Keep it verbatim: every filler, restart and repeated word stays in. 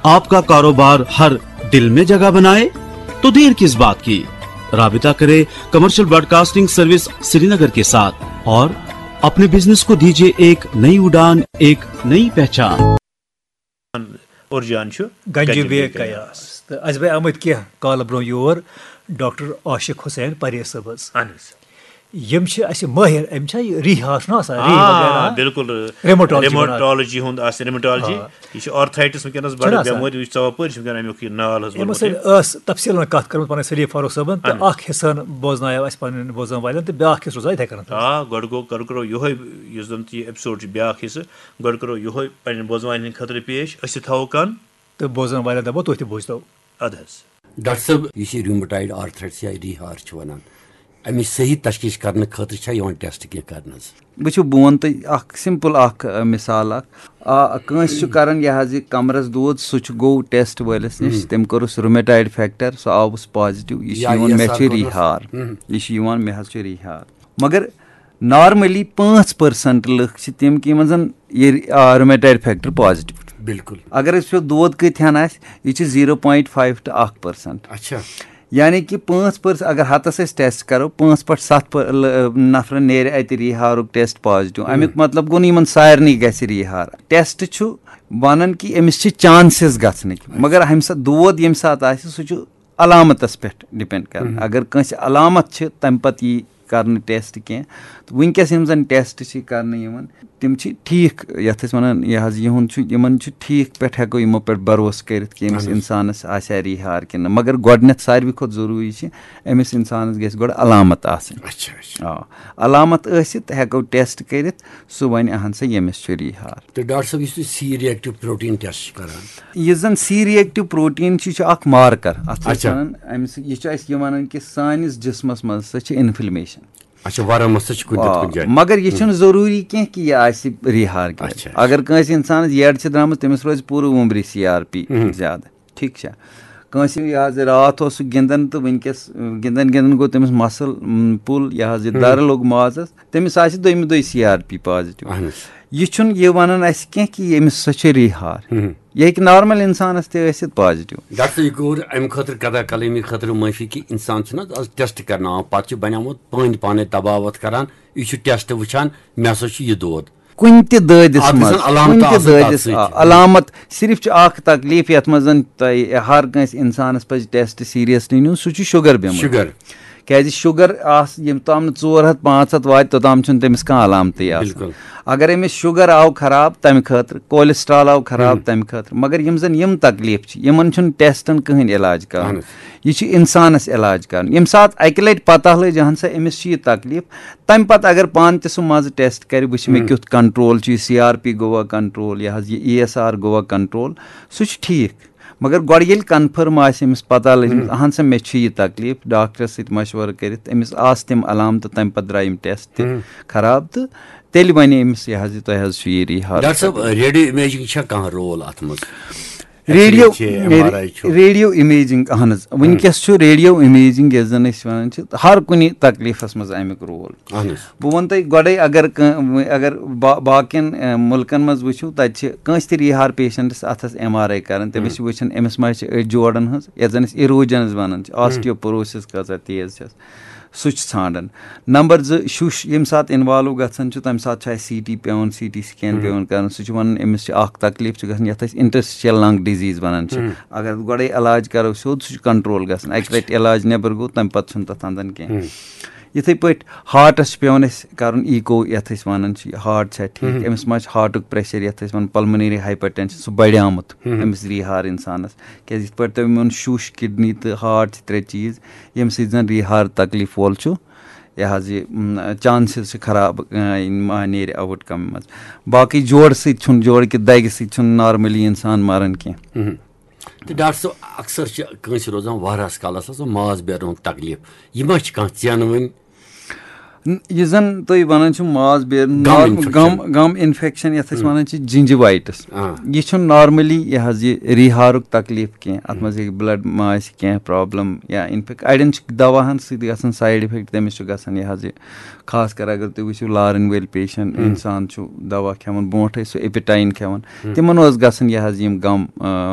आपका कारोबार हर दिल में जगह बनाए, तो देर किस बात की? राबिता करें कमर्शियल ब्रॉडकास्टिंग सर्विस श्रीनगर के साथ और अपने बिजनेस को दीजिए एक नई उड़ान, एक नई पहचान। اورجان چھُ گنجہِ بیگ کیاس۔ تہٕ اَسہِ بہٕ آمٕتۍ کینٛہہ کالہٕ برونٛہہ یور ڈاکٹر عاشق حسین پرے صٲب حظ۔ اہن حظ۔ یِم چھِ اَسہِ مٲہِر، أمۍ چھا یہِ ریٖح ہاش نہ آسان، ریٖح آ وغیرہ؟ بِلکُل۔ Rheumatology ریموٹالجی ہُنٛد آسہِ، ریموٹالجی۔ آ۔ یہِ چھُ آرتھرایٹس وٕنکیٚنَس بڑٕ چھُنہ آسان؟ بٮ۪مٲرۍ، یہِ چھُ ژاپٲرۍ چھِ وٕنکیٚن اَمیُک یہِ نال حظ یِمو ووٚنمُت سۭتۍ یہِ۔ ٲس تفصیٖلن کَتھ کٔرمٕژ پَنٕنۍ سلیٖف فاروق صٲبن تہٕ اہن۔ اکھ حصہٕ بوزنایو اَسہِ پَنٕنٮ۪ن بوزن والٮ۪ن تہٕ بیٛاکھ حصہٕ روزِ یِتھَے کٔنٮ۪تھ۔ آ، گۄڈٕ گوٚو، گۄڈٕ کرو یِہوٚے، یُس زَن تہِ یہِ ایپیسوڈ چھُ بیٛاکھ حصہٕ، گۄڈٕ کرو یِہوٚے پنٕنٮ۪ن بوزن والٮ۪ن ہٕنٛدِ خٲطرٕ پیش۔ أسۍ تہِ تھاوو کَن۔ تہٕ بوزن والٮ۪ن دَپو تُہۍ تہِ بوٗزتو۔ اَدٕ حظ۔ ڈاکٹر صٲب، یُس یہِ ریومیٹایڈ آرتھرائٹس یا ریہار چھِ وَنان، اَمِچ صحیح تشخیص کرنہٕ خٲطرٕ چھا یِوان ٹیسٹ کینٛہہ کرنہٕ حظ؟ وٕچھِو، بہٕ وَنہٕ تۄہہِ اَکھ سِمپٕل اَکھ، آ، مِثال اَکھ۔ آ، کٲنٛسہِ چھُ کَران یہِ حظ یہِ کَمرَس دود، سُہ چھُ گوٚو ٹیسٹ وٲلِس نِش، تٔمۍ کوٚرُس رومیٹایڈ فیکٹر، سُہ آوُس پازِٹیو، یہِ چھُ یا یِوان مےٚ یَسار چھُ کوٚرنَس۔ ریٖہار، یہِ چھُ یِوان مےٚ حظ چھُ ریٖہار۔ مگر نارملی پانٛژھ پٔرسنٹ لُکھ چھِ تِم کہِ یِمن زَن یہِ، آ، رومیٹایڈ فیکٹر پازِٹیو۔ بالکل۔ اگر أسۍ وٕچھو دود کۭتِہَن آسہِ، یہِ چھِ زیٖرو پوینٹ فایو ٹُو اَکھ پٔرسنٹ۔ اچھا۔ یعنی کہِ پانٛژھ پٔرس اگر ہتس أسۍ ٹیسٹ کرو، پانٛژھ پٮ۪ٹھ ستھ پٔر- ل- نفرن نیرِ اتہِ ریٖہارُک ٹیسٹ پازِٹیو۔ امیُک مطلب گوٚو نہٕ یِمن سارنٕے گژھِ ریٖہار۔ ٹیسٹ چھُ ونان کہِ أمِس چھِ چانسز گژھنٕکۍ، مگر ہمہِ ساتہٕ دود ییٚمہِ ساتہٕ آسہِ، سُہ چھُ علامتس پٮ۪ٹھ ڈِپینڈ کران۔ اگر کٲنٛسہِ علامت چھِ، تمہِ پتہٕ یی کرنہٕ ٹیسٹ کینٛہہ۔ تہٕ وٕنکیٚس یِم زن ٹیسٹ چھِ کرنہٕ یِوان، تِم چھِ ٹھیٖک، یَتھ أسۍ وَنان، یہِ حظ یِہُنٛد چھُ، یِمَن چھُ ٹھیٖک پٮ۪ٹھ ہٮ۪کو یِمو پٮ۪ٹھ بھروسہٕ کٔرِتھ کہِ أمِس اِنسانَس آسہِ ہا ریٖہار کِنہٕ نہ۔ مگر گۄڈٕنٮ۪تھ ساروی کھۄتہٕ ضروٗری چھِ أمِس اِنسانَس گژھِ گۄڈٕ علامت آسٕنۍ۔ اچھا اچھا۔ آ، علامت ٲسِتھ ہٮ۪کو ٹیسٹ کٔرِتھ، سُہ وَنہِ اَہَن سا ییٚمِس چھُ ریٖہار۔ تہٕ ڈاکٹر صٲب، یُس تُہۍ سی ریکٹیو پروٹین ٹیسٹ چھِ کران؟ یُس زَن سی ریکٹیو پروٹین چھُ، یہِ چھُ اکھ مارکر۔ اَتھ چھِ أسۍ اچھا۔ وَنان، اَمہِ سۭتۍ، یہِ چھُ اَسہِ یہِ وَنان کہِ سٲنِس جِسمَس منٛز ہسا چھِ اِنفلمیشن۔ اچھا، ورمس تہِ چھُ کُنہِ نتہٕ آ، کُنہِ جایہِ۔ مگر یہِ چھُنہٕ ضروٗری کینٛہہ کہِ یہِ آسہِ ریٖہار کیٛازِ۔ اچھا۔ اگر کٲنٛسہِ اِنسانَس یڈ چھِ درٛامٕژ، تٔمِس روزِ پوٗرٕ عُمرِ سی آر پی زیادٕ۔ ٹھیٖک چھا؟ کٲنٛسہِ یہِ حظ راتھ اوس سُہ گِنٛدان تہٕ وٕنکیٚس، گِنٛدان گِنٛدان گوٚو تٔمِس مَسٕل، م، پُل، یہِ حظ یہِ دَرٕ لوٚگ مازَس، تٔمِس آسہِ دوٚیمہِ دۄہہِ سی آر پی پازِٹیو۔ اہن حظ۔ یہِ چھُنہٕ یہِ وَنان اَسہِ کینٛہہ کہِ ییٚمِس سۄ چھِ ریٖہار۔ یہِ ہیٚکہِ نارمل اِنسانَس تہِ ٲسِتھ پازِٹیو۔ ڈاکٹر صٲب، یہِ کوٚر اَمہِ خٲطرٕ قدا قلمی خٲطرٕ معٲفی کہِ اِنسان چھُنہٕ حظ آز ٹیسٹ کرناوان، پَتہٕ چھُ بنیومُت پٔنٛدۍ پانَے دباوت کران، یہِ چھُ ٹیسٹ وٕچھان، مےٚ ہسا چھُ یہِ دود۔ کُنہِ تہِ دٲدِس اَتھ گژھن منٛز، علامتہٕ کُنہِ تہِ آسٕنۍ تَتھ دٲدِس، سۭتۍ۔ آ، علامت صرف چھُ اکھ تکلیف یتھ منٛز زن تۄہہِ ہر کٲنٛسہِ انسانس پزِ ٹیسٹ سیریسلی نیُن، سُہ چھُ شُگر بیمٲرۍ۔ شُگر۔ کیازِ شُگر آس ییٚمہِ تام نہٕ ژور ہتھ پانٛژھ ہتھ واتہِ، توٚتام چھُنہٕ تٔمِس کانٛہہ علامتٕے آسان۔ بِلکُل۔ اگر أمِس شُگر آو خراب تمہِ خٲطرٕ، کولیسٹرال آو خراب تمہِ خٲطرٕ، مگر یِم زن یِم تکلیف چھِ، یِمن چھُنہٕ ٹیسٹن کٕہٕنۍ علاج کرُن۔ اہن حظ۔ یہِ چھُ انسانس علاج کرُن۔ ییٚمہِ ساتہٕ اکہِ لٹہِ پتہ لٔج، اہن سا أمِس چھِ یہِ تکلیف، تمہِ پتہٕ اگر پانہٕ تہِ سُہ منٛزٕ ٹیسٹ کرِ، وٕچھِ مےٚ کیُتھ کنٹرول چھُ، یہِ سی آر پی گوٚوا کنٹرول، یہِ حظ یہِ ای ایس آر گوٚوا کنٹرول، سُہ چھُ ٹھیٖک۔ مگر گۄڈٕ ییٚلہِ کنفرم آسہِ أمِس پتہ لٔجمٕژ، اہن سا مےٚ چھُ یہِ تکلیف، ڈاکٹرس سۭتۍ مشورٕ کٔرِتھ أمِس آسہٕ تِم علامتہٕ، تمہِ پتہٕ درٛاے یِم ٹیسٹ تہِ خراب، تہٕ تیٚلہِ ونہِ أمِس یہِ حظ یہِ تۄہہِ حظ چھُ یہِ ریٖہار۔ ڈاکٹر صٲب، ریڈیو امیجنگ چھا کانٛہہ رول اتھ منٛز؟ ریڈیو X-ray چھِ، M R I چھُ۔ ریڈیو امیجنگ، اہن حظ، وٕنکیٚس چھُ ریڈیو امیجنگ یۄس زن أسۍ ونان چھِ، ہر کُنہِ تکلیفس منٛز امیُک رول۔ اہن حظ۔ بہٕ وَنہٕ تۄہہِ گۄڈَے، اگر کٲ-، اگر با-، باقین، اے، مُلکن منٛز وٕچھِو، تَتہِ چھِ کٲنٛسہِ تہِ ریٖہار پیشنٹس اَتھس ایم آر آی کران، تٔمِس چھِ وٕچھان أمِس ما چھِ أڑۍ جوڑن ہٕنٛز، یَتھ زَن أسۍ اِروجنز وَنان چھِ، آسٹیوپوروسس کۭژاہ تیز چھَس، سُہ چھُ ژھانڈان۔ نمبر زٕ، شُش ییٚمہِ ساتہٕ انوالو گژھان چھُ، تَمہِ ساتہٕ چھُ اَسہِ سی ٹی پیوان، سی ٹی سکین پیوان کرُن، سُہ چھُ وَنان أمِس چھِ اکھ تکلیف چھُ گژھان، یَتھ أسۍ انٹرسٹیشل لنگ ڈیزیز وَنان چھِ۔ اگر گۄڈَے علاج کرو سیوٚد، سُہ چھُ کنٹرول گژھان، اَکہِ لٹہِ علاج نٮ۪بر گوٚو، تَمہِ پتہٕ چھُنہٕ تَتھ اندان کینٛہہ۔ یِتھَے پٲٹھۍ ہارٹَس چھُ پٮ۪وان اَسہِ کَرُن ایٖکو، یَتھ أسۍ وَنان چھِ ہارٹ چھا ٹھیٖک، أمِس ما چھُ ہارٹُک پریشر، یَتھ أسۍ وَنان پلمنری ہاے پرٹینشن، سُہ بڑیومُت أمِس ریٖہار اِنسانَس۔ کیازِ یِتھ پٲٹھۍ تۄہہِ ووٚن، شُش، کِڈنی تہٕ ہارٹ چھِ ترٛےٚ چیٖز، ییٚمہِ سۭتۍ زَن ریٖہار تکلیٖف وول چھُ، یہِ حظ یہِ، م، چانسز چھِ خراب، آ، ما نیرِ آوُٹ کم منٛز۔ باقٕے جوڑٕ سۭتۍ چھُنہٕ، جوڑٕ کہِ دَگہِ سۭتۍ چھُنہٕ نارملی اِنسان مَران کینٛہہ۔ تہٕ ڈاکٹر صٲب، اکثر چھِ کٲنٛسہِ روزان واریاہس کالس حظ ماز بیرنُک تکلیف، یہِ ما چھِ کانٛہہ ژینہٕ وٕنۍ؟ یہِ زن تُہۍ ونان چھِو ماس بیرُن، Gum نار- infection. گم گم انفیکشن، یتھ أسۍ ونان چھِ جنجوایٹس، آ۔ یہِ چھُنہٕ نارملی یہِ حظ یہِ ریہارُک تکلیف کینٛہہ۔ اتھ منٛز ہیٚکہِ بلڈ ما آسہِ کینٛہہ پرابلم یا انفیکٹ، اڑٮ۪ن چھِ دواہن سۭتۍ گژھان سایڈ افیکٹ، تٔمِس چھُ گژھان یہِ حظ یہِ، خاص کر اگر تُہۍ وٕچھِو لارن وٲلۍ پیشنٹ، انسان چھُ دوا کھٮ۪وان برونٹھے، سُہ ایپیٹاین کھٮ۪وان، تِمن اوس گژھان یہِ حظ یِم گم آ،